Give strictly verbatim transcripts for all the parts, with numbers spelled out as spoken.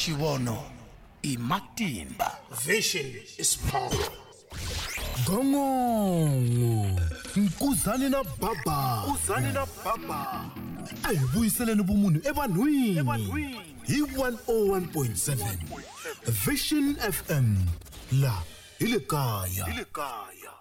Xivono i matimba. Vision is power. Gongongo Nkuzani na Baba. Nkuzani na Baba. A hi vuyiseleni vumunhu evanhwini hi one oh one point seven Vision F M la hi le kaya. Hi le kaya.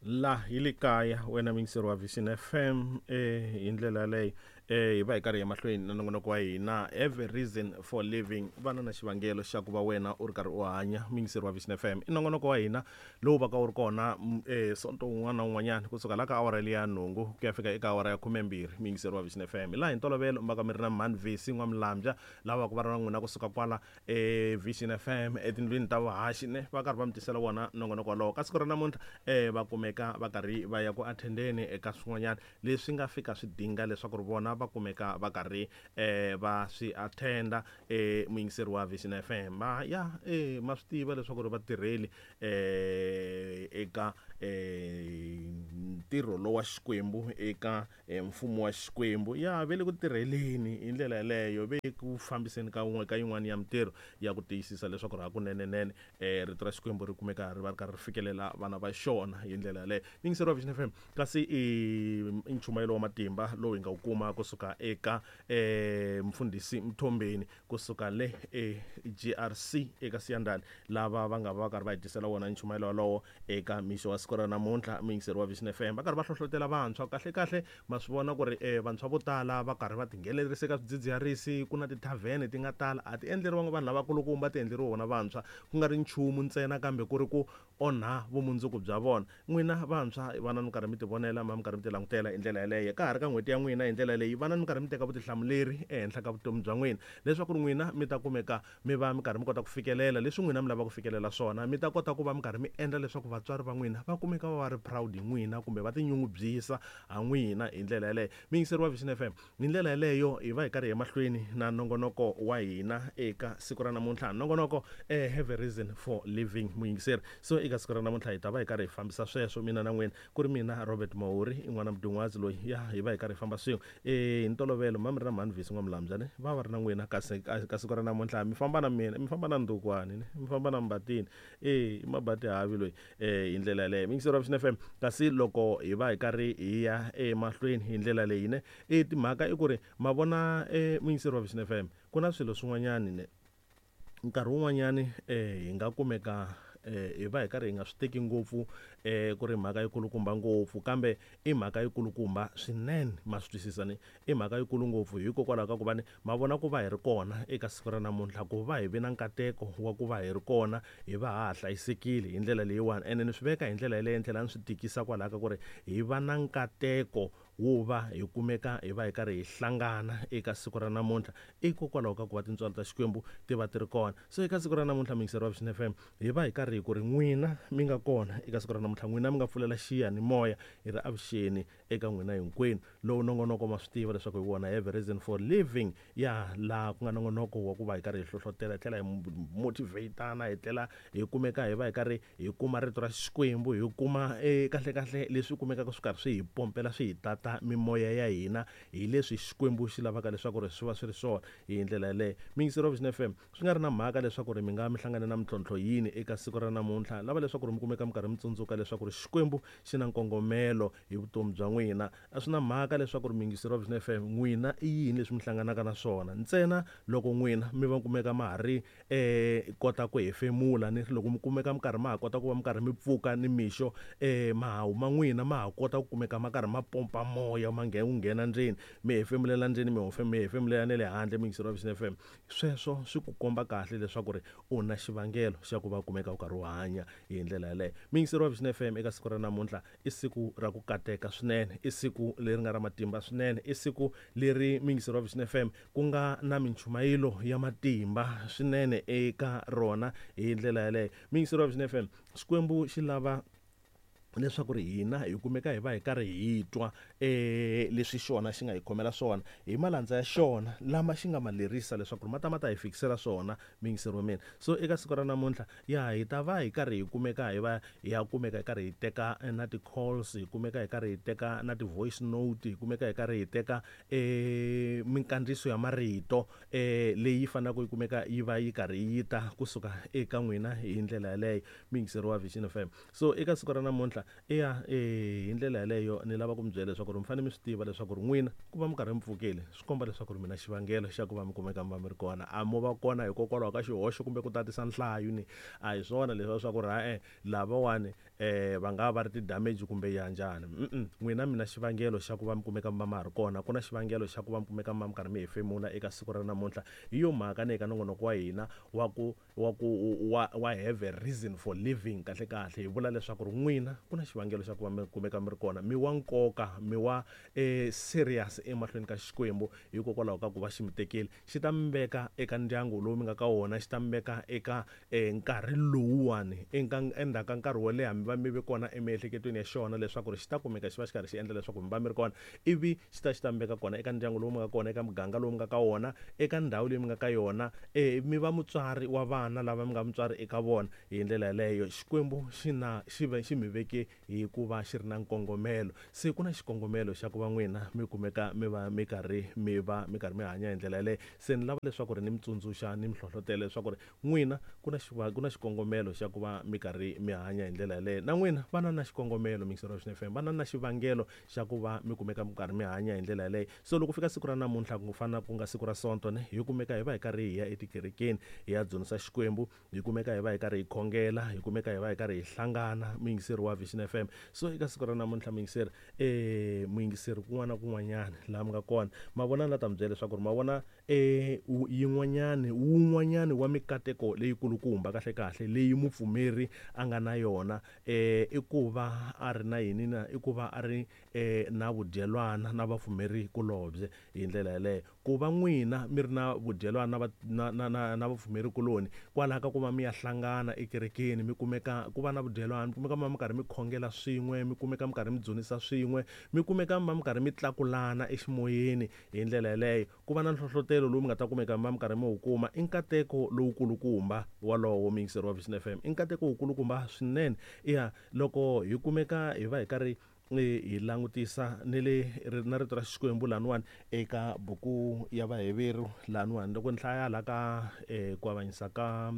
La hi le kaya wena muyingiseri wa Vision F M eh hi ndlela leyi eh hi va hi karhi emahlweni na nongonoko wa hina Have a Reason for Living, vana na xivangelo xa ku va wena u ri karhi u hanya. Muyingiseri wa Vision F M i nongonoko wa hina lowu va ka wu ri kona eh sonto wun'wana na wun'wanyana kusuka la ka awara liya nhungu ku ya fika eka awara ya khumembirhi. Muyingiseri wa Vision F M laha hi ntolovelo mi va ka mi ri na Mhani Vesi N'wamulambya lava ku va ri na n'wina kusuka kwala eh Vision F M etindlwini ta vuhaxi ne va karhi va mi tisela wona nongonoko wolowo. Ka siku ra namuntlha eh va kumeka va karhi va ya ku attendeni eka swin'wanyana leswi nga fika swi dinga leswaku ri vona va kumeka va karhi eh va swi attenda. Eh muyingiseri wa Vision F M va ya eh ma swi tiva leswaku ri vatirheli eh eka eh ntirho lowa wa Xikwembu eka mfumo wa Xikwembu ya ve le ku tirheleni hi ndlela yeleyo, ve ku fambiseni ka wun'we ka yin'wana ya mintirho ya ku tiyisisa leswaku ri hakunenenene eh rito ra Xikwembu ri kumeka ri va ri karhi ri fikelela vana va xona hi ndlela yaleyo. Muyingiseri wa Vision F M kasi i nchumayelo wa matimba lowu hi nga wu kuma kusuka eka eh mfundhisi Mthombeni kusuka le e G R C eka Siyandhani, lava va nga va karhi va hi tisela wona nchumayelo wolowo eka mixo wa siku ra namuntlha. Muyingiseri wa Vision F M va karhi va hlohlotela vantshwa kahle kahle, ma swi vona ku ri eh vantshwa vo tala va karhi va tinghenelerisa eka swidzidziharisi, ku na tithavhene ti nga tala a ti endleriwanga vanhu lavakulukumba, ti endleriwe vona vantshwa, ku nga ri nchumu ntsena kambe ku ri ku onha vumundzuku bya vona. N'wina vantshwa vana mi karhi mi tivonela, ma mi karhi mi ti langutela hi ndlela yeleyo ka ha ri ka n'hweti ya n'wina hi ndlela leyi, vana mi karhi mi teka vutihlamuleri ehenhla ka vutomi bya n'wina leswaku n'wina mi ta kumeka mi va mi karhi mi kota ku fikelela leswi n'wina mi lavaka ku fikelela swona, mi ta kota ku va mi karhi mi endla leswaku vatswari va n'wina va kumeka va va ri proud hi n'wina kumbe va tinyungubyisa ha n'wina hi ndlela yeleyo. Muyingiseri wa Vision F M hi ndlela yeleyo hi va hi karhi emahlweni na nongonoko wa hina eka siku ra namuntlha, nongonoko eh Have a Reason for Living. Muyingiseri, so eka siku ra namuntlha hi ta va hi karhi hi fambisa sweswo mina na n'wina, ku ri mina Robert Mahuri i n'wana Mdungwazi loyi ya hi va hi karhi hi famba swin'we eh hi ntolovelo ma mi ri na Mhani Vesi N'wamulambya ne va va ri na n'wina, kasi ka siku ra namuntlha mi famba na mina, mi famba na Ndukwani ne mi famba na Mbatini eh i Mabati Havi loyi eh hi ndlela yaleyo. Muyingiseri wa Vision F M kasi loko hi va hi karhi hi ya emahlweni hi ndlela leyi ne e timhaka i ku ri ma vona eh muyingiseri wa Vision F M ku na swilo swin'wanyani ne nkarhi wun'wanyani eh hi nga kumeka eh hi va hi karhi hi nga swi teki ngopfu eh ku ri mhaka yikulukumba ngopfu, kambe i mhaka yikulukumba swinene, ma swi twisisa ni i mhaka yikulu ngopfu hikokwalaho ka ku va ni ma vona ku va hi ri kona eka siku ra namuntlha, ku va hi vi na nkateko wa ku va hi ri kona hi va ha ha hlayisekile hi ndlela leyiwani. Ene ni swi veka hi ndlela yeleyo, ni tlhela ni swi tikisa kwalaho ka ku ri hi va na nkateko wo va hi kumeka hi va hi karhi hi hlangana eka siku ra namuntlha hikokwalaho ka ku va tintswalo ta Xikwembu ti va ti ri kona. So eka siku ra namuntlha muyingiseri wa Vision F M hi va hi karhi hi ku ri n'wina mi nga kona eka siku ra namuntlha, n'wina mi nga pfulela xiyanimoya hi ri avuxeni eka n'wina hinkwenu. Lowu nongonoko ma swi tiva leswaku hi wona Have a Reason for Living, ya laha ku nga nongonoko wa ku va hi karhi hi hlohlotela, hi tlhela hi motivatana, hi tlhela hi kumeka hi va hi karhi hi kuma rito ra Xikwembu, hi kuma eh kahle kahle leswi kumekaka swi karhi swi hi pompela swi hi tata mimoya ya hina hi leswi Xikwembu xi lavaka leswaku ri swi va swi ri swona hi ndlela yaleyo. Muyingiseri wa Vision F M swi nga ri na mhaka leswaku ri mi nga mi hlangane na mintlhontlho yini eka siku ra namuntlha, lava leswaku ri mi kumeka mi karhi mi tsundzuka leswaku ri Xikwembu xi na nkongomelo hi vutomi bya n'wina. A swi na mhaka leswaku ri muyingiseri wa Vision F M n'wina i yini leswi mi hlanganaka na swona, ntsena loko n'wina mi va kumeka ma ha ri eh kota ku hefemula ni loko mi kumeka mi karhi ma ha kota ku va mi karhi mi pfuka ni mixo eh mahawu ma n'wina ma ha kota ku kumeka ma karhi ma pompa moya ma nghena wu nghena ndzeni mi hefemulela ndzeni mi mi hefemulela na le handle. Muyingiseri wa Vision F M sweswo swi ku komba kahle leswaku ri u na xivangelo xa ku va kumeka u karhi u hanya hi ndlela yaleyo. Muyingiseri wa Vision F M eka siku ra namuntlha i siku ra ku kateka swinene, i siku leri nga ra matimba swinene, i siku leri muyingiseri wa Vision F M ku nga na minchumayelo ya matimba swinene eka rona hi ndlela yaleyo. Muyingiseri wa Vision F M Xikwembu xi lava leswaku ri hina hi kumeka hi va hi karhi hi twa eh leswi xona xi nga hi khomela swona hi malandza ya xona lama xi nga ma lerisa leswaku ri ma ta ma ta hi fikisela swona miyingiseri wa mina. So eka siku ra namuntlha ya hi ta va hi karhi hi kumeka hi va hi ya kumeka hi karhi hi teka na ti-calls, hi kumeka hi karhi hi teka na ti-voice note, hi kumeka hi karhi hi teka eh minkandziyiso ya marito eh leyi faneleke yi kumeka yi va yi karhi yi ta kusuka eka n'wina hi ndlela yaleyo miyingiseri wa Vision F M. So eka siku ra namuntlha eya eh hi ndlela yaleyo ni lava ku mi byela leswaku ri mi fanele mi swi tiva leswaku ri n'wina ku va mi karhi mi pfukile swi komba leswaku ri mina xivangelo xa ku va mi kumeka mi va mi ri kona, a mo va kona hikokwalaho ka xihoxo kumbe ku tatisa nhlayo ni a hi swona leswi swa ku ri ha-e lavawani eh va nga va ri ti-damage kumbe ya njhani. N'wina mina xivangelo xa ku va mi kumeka mi va ma ha ri kona, ku na xivangelo xa ku va mi kumeka mi va mi karhi mi hefemula eka siku ra namuntlha. Hi yo mhaka ni eka nongonoko wa hina wa ku wa ku wa wa have a reason for living, kahle kahle hi vula leswaku ri n'wina ku na xivangelo xa ku va mi kumeka mi ri kona, mi wa nkoka, mi wa eh serious emahlweni ka Xikwembu hikokwalaho ka ku va xi mi tekile xi ta mi veka eka ndyangu lowu mi nga ka wona, xi ta mi veka eka eh nkarhi lowuwani eka endzhaku ka nkarhi wo leha mi va mi ve kona emiehleketweni ya xona leswaku ri xi ta kumeka xi va xi karhi xi endla leswaku mi va mi ri kona, ivi xi ta xi ta mi veka kona eka ndyangu lowu mi nga kona, eka muganga lowu mi nga ka wona, eka ndhawu leyi mi nga ka yona, eh mi va mutswari wa vana lava mi nga mutswari eka vona. Hi ndlela yaleyo Xikwembu xi na xi ve xi mi veke hikuva xi ri na nkongomelo. Se ku na xikongomelo xa ku va n'wina mi kumeka mi va mi karhi mi va mi karhi mi hanya hi ndlela yaleyo. Se ni lava leswaku ri ni mi tsundzuxa ni mi hlohlotela leswaku ri n'wina ku na ku na xikongomelo xa ku va mi karhi mi hanya hi ndlela yaleyo. Na n'wina va na na xikongomelo mixero wa F M, va na na xivangelo xa ku va mi kumeka mi karhi mi hanya hi ndlela yaleyo. So loko fika siku ra namuntlha ku fana ku nga siku ra Sonto ne hi kumeka hi va hi karhi hi ya etikerekeni hi ya dzunisa Xikwembu, hi kumeka hi va hi karhi hi khongela, hi kumeka hi va hi karhi hi hlangana muyingiseri wa Vision F M. So eka siku ra namuntlha muyingiseri eh muyingiseri kun'wana na kun'wanyana laha mi nga kona ma vona la ta mi byela leswaku ri ma vona eh yin'wanyani wun'wanyani wa mikateko leyikulukumba kahle kahle leyi mupfumeri a nga na yona eh i ku va a ri na yini na i ku va a ri eh na vudyelwana na vapfumeri kulobye hi ndlela yaleyo. Ku va n'wina mi ri na vudyelwana na na na na vapfumeri kuloni kwalaho ka ku va mi ya hlangana ekerekeni mi kumeka ku va na vudyelwana, mi kumeka mi karhi mi khongela swin'we, mi kumeka mi karhi mi dzunisa swin'we, mi kumeka mi karhi mi tlakulana eximoyeni hi ndlela yaleyo. Ku va na nhlohlotelo lowu mi nga ta kumeka mi karhi mi wu kuma i nkateko lowukulukumba walowo muyingiseri wa Vision F M, i nkateko wukulukumba swinene. Ya loko hi kumeka hi va hi karhi hi langutisa ni le na rito ra Xikwembu laniwani eka buku ya Vaheveru laniwani loko ni hlaya la ka eh ku avanyisa ka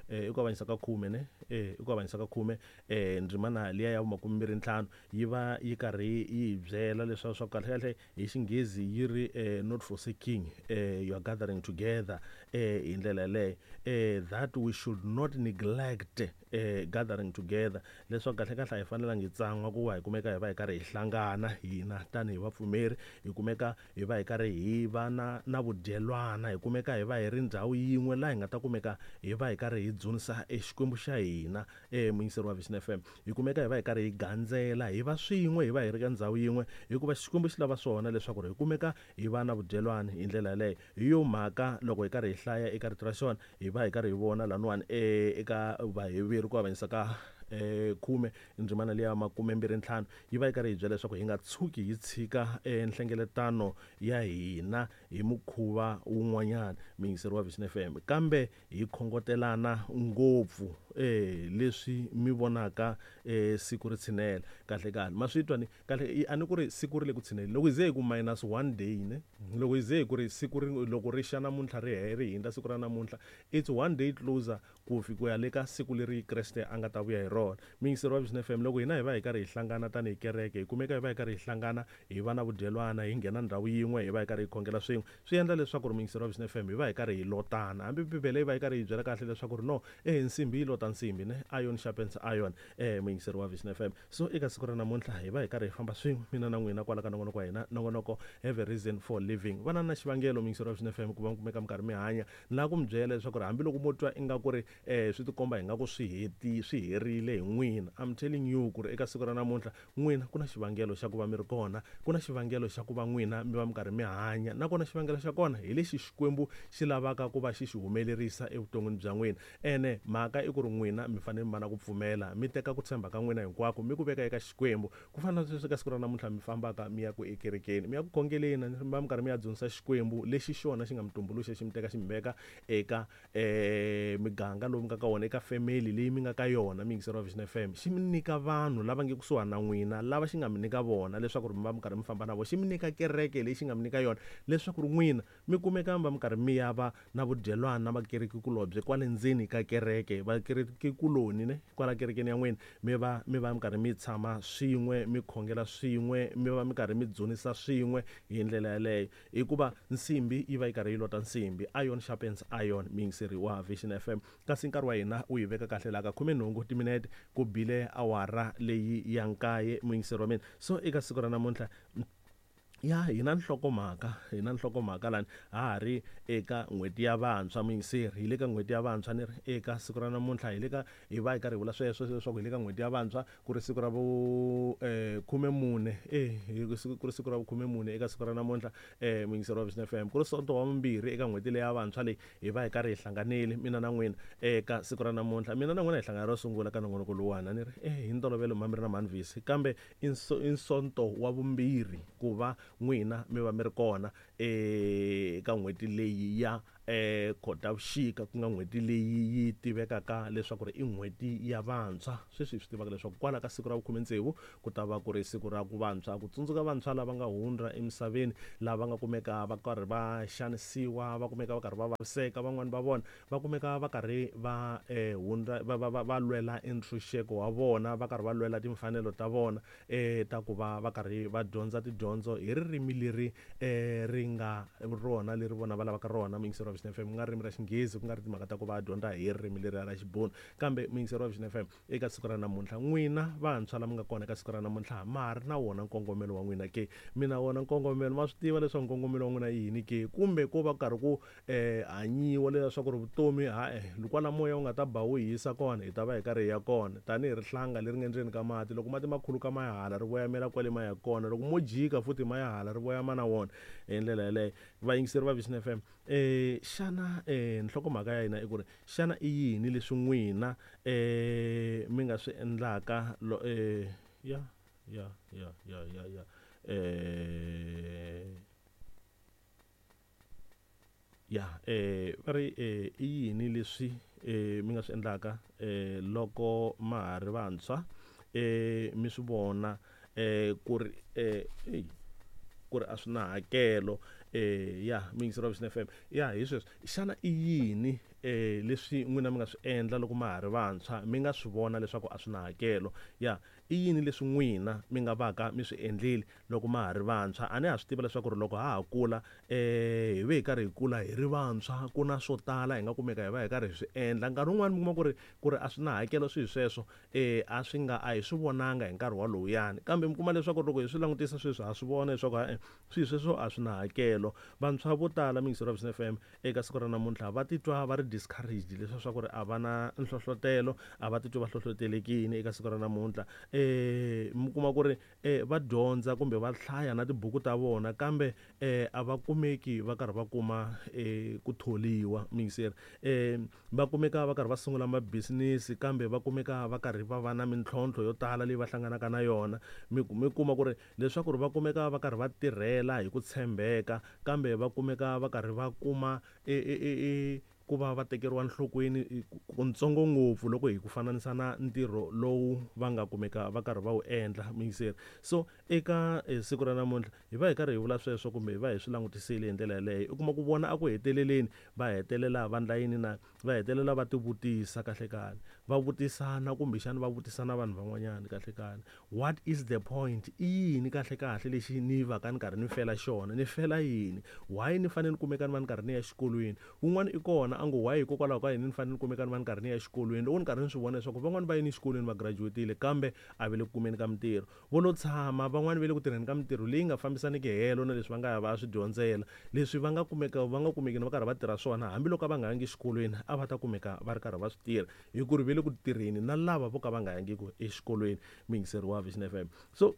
eh ku avanyisa ka khume ne eh ku avanyisa ka khume eh ndzimana liya ya makume ntlhanu yi va yi karhi yi byela leswaku swa kahle kahle hi Xinghezi yi ri eh not forsaking eh you are gathering together eh hi ndlela yaleyo eh that we should not neglect eh gathering together, leswaku kahle kahle a hi fanelangi hi tsan'wa ku va hi kumeka hi va hi karhi hi hlangana hina tanihi vapfumeri, hi kumeka hi va hi karhi hi va na na vudyelwana, hi kumeka hi va hi ri ndhawu yin'we laha hi nga ta kumeka hi va hi karhi hi dzunisa eXikwembu xa hina eh muyingiseri wa Vision F M, hi kumeka hi va hi karhi hi gandzela hi va swin'we hi va hi ri ka ndhawu yin'we hikuva Xikwembu xi lava swona leswaku ri hi kumeka hi va na vudyelwana hi ndlela yaleyo. Hi yo mhaka loko hi karhi hi hlaya eka rito ra xona hi va hi karhi hi vona laniwani eh eka Vaheveru ku avanyisa ka eh khume ndzimana liya makume mbirhi ntlhanu yi va yi karhi hi byela leswaku hi nga tshuki hi tshika nhlengeletano ya hina hi mukhuva wun'wanyana muyingiseri wa Vision F M, kambe hi khongotelana ngopfu eh leswi mi vonaka eh siku ri tshinela. Kahle kahle ma swi twa ni kahle a ni ku ri siku ri le ku tshineleni loko hi ze hi ku minus one day ne loko hi ze hi ku ri siku ri loko ri xa namuntlha ri ri hindza siku ra namuntlha it's one day closer ku fika ya le ka siku leri Kreste a nga ta vuya hi rona. Muyingiseri wa Vision F M, loko hina hi va hi karhi hi hlangana tanihi kereke, hi kumeka hi va hi karhi hi hlangana hi va na vudyelwana, hi nghena ndhawu yin'we hi va hi karhi hi khongela swin'we, swi endla leswaku ri muyingiseri wa Vision F M hi va hi karhi hi lotana. Hambi Bibele yi va yi karhi yi byela kahle leswaku ri no eh nsimbi yi lota nsimbi ne iron sharpens iron eh muyingiseri wa Vision F M. So eka siku ra namuntlha hi va hi karhi hi famba swin'we mina na n'wina kwala ka nongonoko wa hina, nongonoko have a reason for living. Va na na xivangelo muyingiseri wa Vision F M ku va mi kumeka mi karhi mi hanya. Ni lava ku mi byela leswaku ri hambiloko mo twa ingaku ri eh swi tikomba hi nga ku swi heti swi herile titshegile hi n'wina. I'm telling you ku ri eka siku ra namuntlha n'wina ku na xivangelo xa ku va mi ri kona, ku na xivangelo xa ku va n'wina mi va mi karhi mi hanya, nakona xivangelo xa kona hi lexi Xikwembu xi lavaka ku va xi xi humelerisa evuton'wini bya n'wina. Ene mhaka i ku ri n'wina mi fanele mi va na ku pfumela, mi teka ku tshemba ka n'wina hinkwako mi ku veka eka Xikwembu. Ku fana na sweswi ka siku ra namuntlha mi fambaka mi ya ku ekerekeni, mi ya ku khongeleni, mi va mi karhi mi ya dzunisa Xikwembu lexi xona xi nga mi tumbuluxa, xi mi teka xi mi veka eka um miganga lowu mi nga ka wona, eka family leyi mi nga ka yona. Muyingiseri wa Vision F M, xi mi nyika vanhu lava nge kusuhani na n'wina, lava xi nga mi nyika vona leswaku ri mi va mi karhi mi famba na vona, xi mi nyika kereke leyi xi nga mi nyika yona leswaku ri n'wina mi kumeka mi va mi karhi mi ya va na vudyelwana na vakerekikulobye kwale ndzeni ka kereke, vakerekikuloni ne kwala kerekeni ya n'wina, mi va mi va mi karhi mi tshama swin'we, mi khongela swin'we, mi va mi karhi mi dzunisa swin'we hi ndlela yaleyo. Hikuva nsimbi yi va yi karhi yi lota nsimbi, iron sharpens iron. Muyingiseri wa Vision F M, kasi nkarhi wa hina wu hi veka kahle laha ka khumenhungu timinete ku bile awara leyi ya nkaye, muyingiseri wa mina. So eka siku ra namuntlha ya hina nhlokomhaka, hina nhlokomhaka lani ha ha ri eka n'hweti ya vantshwa. Muyingiseri, hi le ka n'hweti ya vantshwa ni ri eka siku ra namuntlha hi le ka, hi va hi karhi hi vula sweswo leswaku hi le ka n'hweti ya vantshwa, ku ri siku ra vu um khumemune e ku ri siku ra vukhumemune eka siku ra namuntlha um muyingiseri wa Vision F M, ku ri sonto wa vumbirhi eka n'hweti leyi ya vantshwa leyi hi va hi karhi hi hlanganile mina na n'wina eka siku ra namuntlha. Mina na n'wina hi hlangana ro sungula ka nongonoko lowuwani, ni ri e hi ntolovelo mhani mi ri na mhani Visi, kambe i sonto wa vumbirhi ku va n'wina mi va mi ri kona eka n'hweti leyi ya eh Khotavuxika, ku nga n'hweti leyi yi tivekaka leswaku ri i n'hweti ya vantshwa. Sweswi hi swi tivaka leswaku kwala ka siku ra vukhume tsevu ku ta va ku ri siku ra ku vantshwa, ku tsundzuka vantshwa lava nga hundza emisaveni, lava nga kumeka va karhi va xanisiwa, va kumeka va karhi va vaviseka, van'wani va vona va kumeka va karhi va eh hundza va va va lwela entshunxeko wa vona, va karhi va lwela timfanelo ta vona eh ta ku va va karhi va dyondza tidyondzo hi ririmi leri eh ri nga rona leri vona va lavaka rona. Muyingiseri wa Vision F M, ku nga ririmi ra Xinghezi, ku nga ri timhaka ta ku va dyondza hi ririmi leri ra Xibunu. Kambe muyingiseri wa Vision F M, eka siku ra namuntlha n'wina vantshwa lava nga kona eka siku ra namuntlha ma ha ri na wona nkongomelo wa n'wina ke? Mina wona nkongomelo ma swi tiva leswaku nkongomelo wa n'wina i yini ke? Kumbe ko va karhi ku um hanyiwa leswaku ri vutomi ha-e kwala moya wu nga ta ba wu hisa kona hi ta va hi karhi hi ya kona, tanihi rihlanga leri nga endzeni ka mati, loko mati ma khuluka ma ya hala ri voyamela kwale ma ya kona, loko mo jika futhi ma ya hala ri voyama na wona hi ndlela yaleyo. Vayingiseri va Vision F M, eh xana eh nhlokomhaka ya hina i ku ri xana i yini leswi n'wina eh mi nga swi endlaka lo eh ya ya ya ya ya ya eh ya eh va ri eh i yini leswi eh mi nga swi endlaka eh loko ma ha ri vantshwa eh mi swi vona eh ku ri eh ku ri a swi na hakelo eh ya muyingiseri wa Vision F M ya hi sweswo. Xana i yini eh leswi n'wina mi nga swi endla loko ma ha ri vantshwa mi nga swi vona leswaku a swi na hakelo? Ya i yini leswi n'wina mi nga vaka mi swi endlile loko ma ha ri vantshwa? A ni ha swi tiva leswaku ri loko ha ha kula eh hi ve hi karhi hi kula hi ri vantshwa, ku na swo tala hi nga kumeka hi va hi karhi hi swi endla. Nkarhi wun'wani mi kuma ku ri ku ri a swi na hakelo swi hi sweswo eh a swi nga a hi swi vonanga hi nkarhi walowuyani, kambe mi kuma leswaku loko hi swi langutisa sweswi ha swi vona leswaku ha swi sweswo a swi na hakelo. Vantshwa vo tala muyingiseri wa Vision F M eka siku ra namuntlha va titwa va ri discouraged, leswaku ku ri a va na nhlohlotelo, a va titwi va hlohlotelekini eka siku ra namuntlha. Eh mi kuma ku ri eh va dyondza kumbe va hlaya na tibuku ta vona, kambe eh a va kumeki va karhi va kuma eh ku tholiwa. Muyingiseri, eh va kumeka va karhi va sungula mabisinisi, kambe va kumeka va karhi va va na mintlhontlho yo tala leyi va hlanganaka na yona. Mi mi kuma ku ri leswaku ri va kumeka va karhi va tirhela hi ku tshembeka, kambe va kumeka va karhi va kuma e e e ku va va tekeriwa nhlokweni kuntsongo ngopfu loko hi ku fananisa na ntirho lowu va nga kumeka va karhi va wu endla. Muyingiseri, so eka siku ra namuntlha hi va hi karhi hi vula sweswo kumbe hi va hi swi langutisile hi ndlela yaleyo, u kuma ku vona a ku heteleleni va hetelela va ndla yini na va hetelela va tivutisa kahle kahle, va vutisana kumbexana va vutisana vanhu van'wanyana kahle kahle, what is the point? I yini kahle kahle lexi ni va ka ni karhi ni fela xona? Ni fela yini? Why ni fanele ni kumeka ni va ni karhi ni ya exikolweni? Wun'wana i kona a ngo why hikokwalaho ka yini ni fanele ni kumeka ni va ni karhi ni ya exikolweni loko ni karhi ni swi vona leswaku van'wani va yini exikolweni va graduate-ile kambe a va le ku kumeni ka mintirho vo lo tshama van'wani va le ku tirheni ka mintirho leyi nga fambisaniki helo na leswi va nga ya va ya swi dyondzela leswi va nga kumeka va nga kumeki va karhi va tirha swona hambiloko a va nga yangi exikolweni a va ta kumeka va ri karhi va swi tirha hi ku ri va le ku tirheni na lava vo ka va nga yangiki exikolweni muyingiseri wa Vision F M so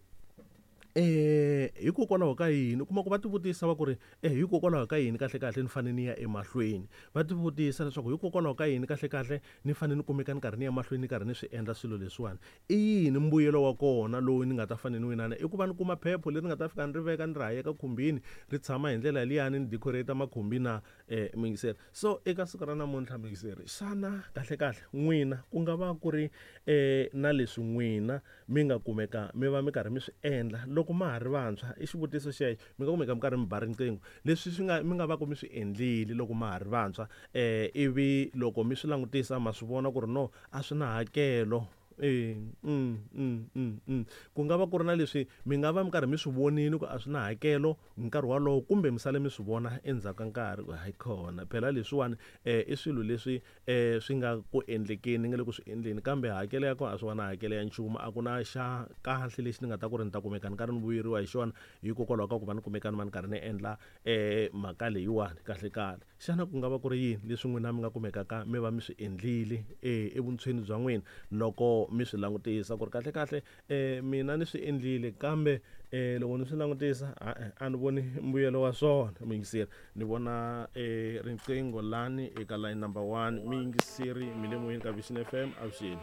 eh hikokwalaho ka yini u kuma ku va tivutisa va ku ri eh hikokwalaho ka yini kahle kahle ni fanele ni ya emahlweni va tivutisa leswaku hikokwalaho ka yini kahle kahle ni fanele ni kumeka ni karhi ni ya mahlweni ni karhi ni swi endla swilo leswiwani i yini mbuyelo wa kona lowu ni nga ta fanele ni winana i ku va ni kuma phepho leri nga ta fika ni ri veka ni ri hayeka khumbini ri tshama hi ndlela liyani ni decorate makhumbi na eh muyingiseri so eka siku ra namuntlha muyingiseri xana kahle kahle n'wina ku nga va ku ri eh na leswi n'wina mi nga kumeka mi va mi karhi mi swi endla loko ma ha ri vantshwa i xivutiso xexo mi nga kumeka mi karhi mi ba riqingho leswi swi nga mi nga va ku mi swi endlile loko ma ha ri vantshwa eh ivi loko mi swi langutisa ma swi vona ku ri no a swi na hakelo e mm mm mm mm ku nga va ku ri na leswi mi nga va mi karhi mi swi vonile ku a swi na hakelo nkarhi wolowo kumbe mi sale mi swi vona endzhaku ka nkarhi ku hayi khona phela leswiwani eh i swilo leswi eh swi nga ku endlekeni nga le ku swi endleni kambe hakelo ya kona a swi va na hakelo ya nchumu a ku na xa kahle lexi ni nga ta ku ri ni ta kumeka ni karhi ni vuyeriwa hi xona hikokwalaho ka ku va ni kumeka ni va ni karhi ni endla eh mhaka leyiwani kahle kahle xana ku nga va ku ri yini leswi n'wina mi nga kumekaka mi va mi swi endlile eh evuntshweni bya n'wina loko mi swi langutisa ku ri kahle kahle eh mina ni swi endlile kambe eh loko ni swi langutisa a ni voni mbuyelo wa swona muyingiseri ni vona eh riqingho lani eka line number one muyingiseri mi le moyeni ka Vision F M avuxeni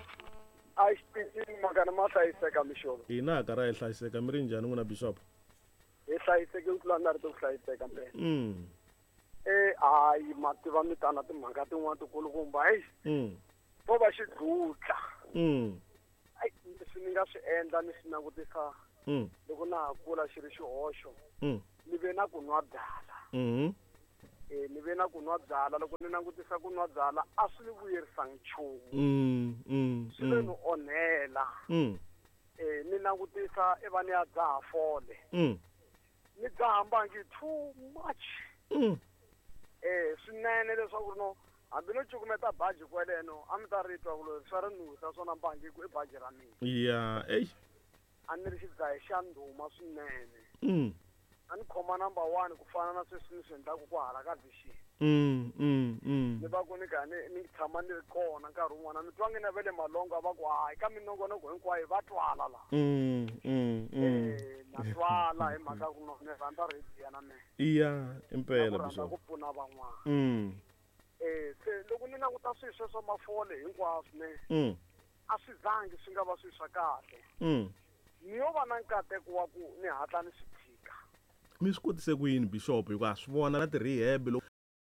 a xipicini makana ma hlayiseka mixolo hina ka ra hi hlayiseka mi ri njhani n'wina bishop hi hlayiseke ku tlula na ri to ku hlayiseka mpela mm eh hayi ma tiva mi tana timhaka tin'wana tikulukumba heyi mm vo va xidlutla mm ai leswi ni nga swi endla ni swi langutisa mm loko na ha kula xi ri xihoxo mm ni ve na ku nwa byala mm eh ni ve na ku nwa byala loko ni langutisa ku nwa byala a swi ni vuyerisangi nchumu mm mm swi le ni onhela mm eh ni langutisa i va ni ya dzaha fole mm ni dzaha mbangi too much mm eh swinene leswaku no hambi no cukumeta baji kweleno a mi ta ri twa ku lo swa ri nusa swona mbangi ku i baji ra mina ya ey a ni ri xidzahi xa ndhuma swinene mm a ni khoma number one ku fana na sweswi ni swi endlaku ku hala ka Vision mm mm mm ni va ku ni karhi ni ni tshama ni ri kona nkarhi wun'wana mi twa nge na ve le Malongo a va ku hayi ka minongonoko hinkwayo va twala la mm mm mm eh na twala hi mhaka ku no ni rhandza radio na mina iya na impela ku rhandza bishop ku pfuna van'wana mm eh se loko ni languta swilo sweswo mafole hinkwaswo ne mm a swi zangi swi nga va swilo swa kahle mm ni yo va na nkateko wa ku ni hatla ni swi tshika mi swi kotise ku yini bishop hikuva swi vona na ti-rehab loko